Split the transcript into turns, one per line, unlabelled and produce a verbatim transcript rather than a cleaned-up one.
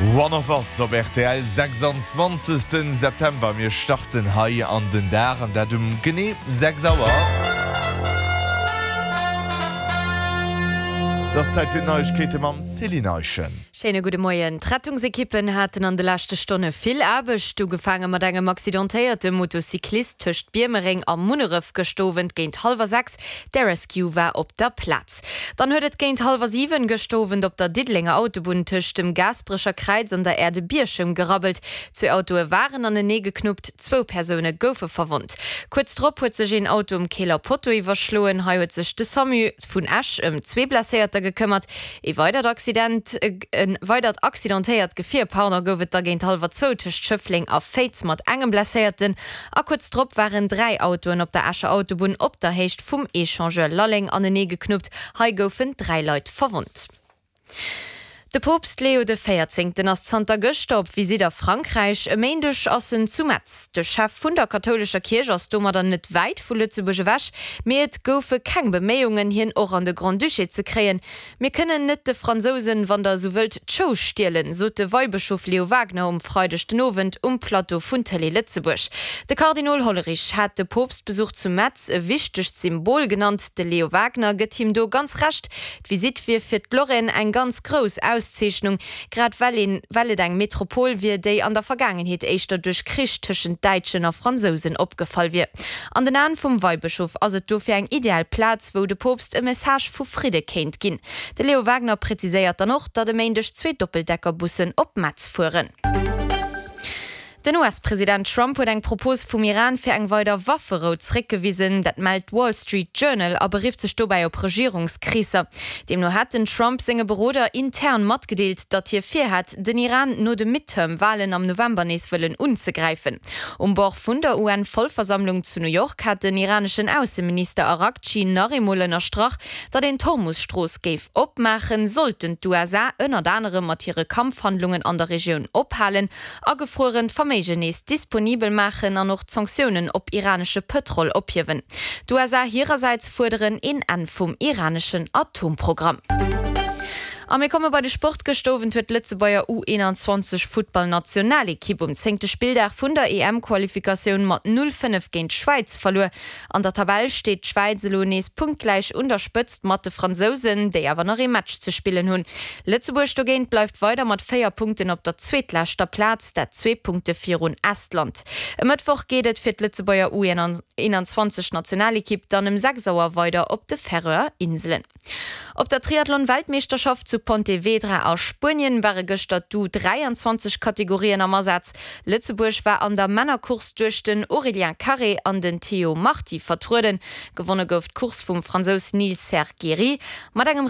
One of Us op rtl sechsanzwanzegsten September. Mir starten hei an den Dag an dat um genee sechs Auer. Et ass Zäit fir d'Neiegkeete mam Céline Eischen.
Schéine gudde Moien. D'Rettungsekippen haten an de leschte Stonne vill Aarbecht, ugefaange mat engem accidentéierte Motocyclist tëscht Biermereng a Munneref gëscht Owend géint hallwer sechs. De Rescue war op der Plaz. Dann huet et géint hallwer siwen gëscht Owend op der Diddelenger Autobunn tëscht dem Gaasperecher Kräiz an der Aire de Bierchem gerabbelt. Zwee Autoe waren anenee geknuppt, zwou Persoune goufe verwonnt. Kuerz drop huet sech een Auto um Keeler Potto iwwerschloen. Hei huet sech de Samu vun Esch ëm zwee Blesséierter gekëmmert. Ee weidert Accident, e weidert accidentéiert Gefier, pardon, gouf et da géint hallwer zwou tëscht Schëffleng a Féiz mat engem Blesséierten. A kuerz drop waren dräi Autoen op der Escher Autobunn op der Héicht vum Echangeur Lalleng anenee geknuppt. Hei goufen dräi Leit verwonnt. De Poopst Leo de Véierzéngten ass zanter gëschter op Visitt a Frankräich. E Méindeg ass en zu Metz. De Chef vun der kathoulescher Kierch ass domadder net wäit vu Lëtzebuerg ewech, mee et goufe keng Beméiungen, hien och an de Grand-Duché ze kréien. Mir kënnen net de Fransousen, wann der esou wëllt, d'Show stielen, sot de Weibëschof Leo Wagner um Freideg den Owend um Plateau vun Tëlee Lëtzebuerg. De Kardinol Hollerich hat de Poopstbesuch zu Metz e wichtegt Symbol genannt. De Leo Wagner gëtt him do ganz Recht, D'Visitt wier fir d'Lorraine eng ganz grouss Auszeechnung, grad well een, well et eng Metropol wier, déi an der Vergaangenheet éischter duerch Krich tëschent Däitschen a Fransousen opgefall wier. An den Aen vum Weibëschof ass et dofir eng ideal Plaz, wou de Poopst e Message vu Fridde kéint ginn. De Leo Wagner präziséiert dann och, datt e Méindeg zwee Doppeldeckerbussen op Metz fueren. Den U S-President Trump huet eng Propos vum Iran fir eng weider Wafferou zréckgewisen. Dat mellt d'Wall Street Journal a berifft sech dobäi op Regierungskreesser. Deemno hätt den Trump senge Beroder intern matgedeelt, datt hie virhätt, den Iran no de Midterm-Walen am November nees wëllen unzegräifen. Um Bord vun der U N-Vollversammlung zu New York hat den iraneschen Ausseminister Araghchi nach eemol ënnerstrach, datt een d'Hormus-Strooss géif opmaachen, sollten d'U S A ënnert anerem mat hire Kampfhandlungen an der Regioun ophalen, agefruerent Verméigen nees disponibel maachen an och d'Sanktiounen op iranesche Pëtrol ophiewen. D'U S A hirersäits fuerderen een Enn vum iraneschen Atomprogramm. A mir komme bei de Sport. Gëscht Owend huet d'Lëtzebuerger U eenanzwanzeg Futtballnationalekipp um zéngte Spilldag vun der E M-Qualifikatioun mat null, fënnef géint d'Schwäiz verluer. An der Tabell steet d'Schwäiz elo nees punktgläich un der Spëtzt mat de Fransousen, déi awer nach ee Match ze spillen hunn. Lëtzebuerg dogéint bleift weider mat véier Punkten op der zweetleschter Plaz, dat zwee Punkte virun Estland. E Mëttwoch geet et fir d'Lëtzebuerger U eenanzwanzeg Nationalekipp dann ëm sechs Auer weider op de Färöer Inselen. Op der Triathlon-Weltmeeschterschaft zu Pontevedra a Spuenien ware gëschter d'U dräianzwanzeg Kategorien am Asaz. Lëtzebuerg war an der Männercourse duerch den Aurélien Carré an den Théo Marti vertrueden. Gewonne gouf d'Course vum Fransous Nils Serre-Guéry mat engem.